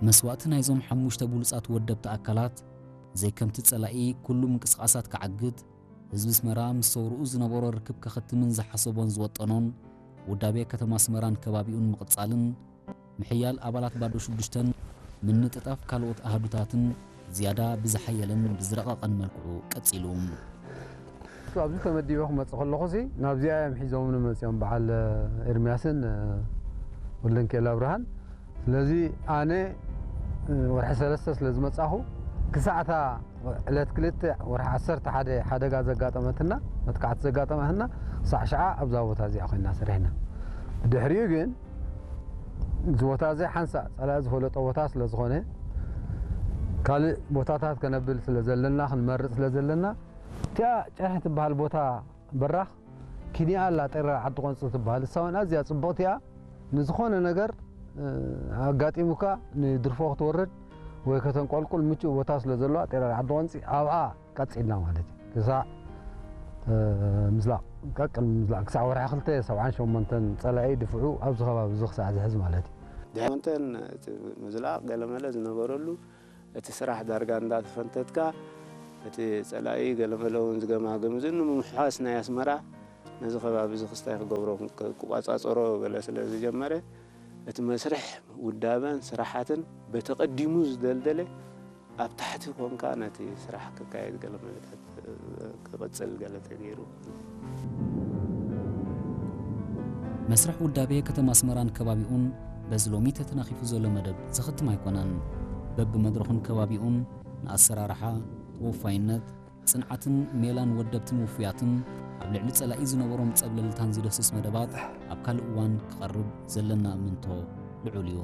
መስዋእቲ ናይዞም ሓሙሽተ ብሉጻት ወደብቲ ኣካላት ዘይከምቲ ጸላኢ ኩሉ ምንቅስቓሳት ክዓግት፣ ህዝቢ ኣስመራ ምስ ሰውርኡ ዝነበሮ ርክብ ከኸትምን ዝሓሰቦን ዝወጠኖን ውዳቤ ከተማ ኣስመራን ከባቢኡን ምቕጻልን ምሕያል ኣባላት ባዶ ሽዱሽተን ምንጥጣፍ ካልኦት ኣሃዱታትን ዝያዳ ብዝሓየለን ብዝረቐቐን መልክዑ ቀጺሉ። ኣብዚ ተመዲበ ክመጽእ ከለኹ ሲ ናብዚኣ እዮም ሒዞምኒ መጺኦም በዓል ኤርምያስን ወልደንኬል ኣብርሃን። ስለዚ ኣነ ወርሒ ሰለስተ ስለ ዝመጻኹ ክሳዕታ ዕለት ክልተ ወርሒ ዓሰርተ ሓደ ሓደጋ ዘጋጠመትና መጥቃዕቲ ዘጋጠመትና ክሳዕ ሽዓ ኣብዛ ቦታ እዚኣ ኮይና ሰሪሕና። ብድሕሪኡ ግን እዚ ቦታ እዚ ሓንሳእ ጸላኢ ዝፈለጦ ቦታ ስለ ዝኾነ ካልእ ቦታታት ከነብል ስለ ዘለና ክንመርጽ ስለ ዘለና እቲኣ ጨርሒ ትበሃል ቦታ በራኽ ኪንያ ኣላ ጤራ ዓዲ ቆንጽ ትበሃል እሳ እውን ኣዝያ ጽብቕቲ እያ። ንዝኾነ ነገር ኣጋጢሙካ ንድርፎ ክትወርድ ወይ ከተንቆልቁል ምቹእ ቦታ ስለ ዘለዋ ጤራ ዓዲ ቆንጺ ኣብኣ ቀጺልና ማለት እዩ። ክሳዕ ምዝላቕ ቀቅል ምዝላቕ ክሳዕ ወርሒ ክልተ ሰብዓን ሸሞንተን ጸላኢ ድፍዑ ኣብዚ ከባቢ እዚ ክሳዕ ዝሕዝ ማለት እዩ። ድሕሪ ሸሞንተን እቲ ምዝላቕ ገለመለ ዝነበረሉ እቲ ስራሕ ዳርጋ እንዳተፈንተትካ እቲ ጸላኢ ገለመለ እውን ዝገማግም እዚ ንምምሕዋስ ናይ ኣስመራ ነዚ ከባቢ እዚ ክስታይ ክገብሮ ክቋጻጸሮ ገለ ስለ ዝጀመረ እቲ መስርሕ ውዳበን ስራሓትን በቲ ቀዲሙ ዝደልደለ ኣብ ታሕቲ ኮንካ ነቲ ስራሕ ክካየድ ገለ መለታት ክቕጽል ገለ ተገይሩ። መስርሕ ውዳቤ ከተማ ኣስመራን ከባቢኡን በዚ ሎሚ ተተናኺፉ ዘሎ መደብ ዝኽትም ኣይኮነን። በብመድረኹን ከባቢኡን ንኣሰራርሓ፣ ተወፋይነት፣ ጽንዓትን ሜላን ወደብትን ውፉያትን ኣብ ልዕሊ ጸላኢ ዝነበሮም ጸብለልታን ዝደስስ መደባት ኣብ ካልእ እዋን ክቐርብ ዘለና እምንቶ ልዑል እዩ።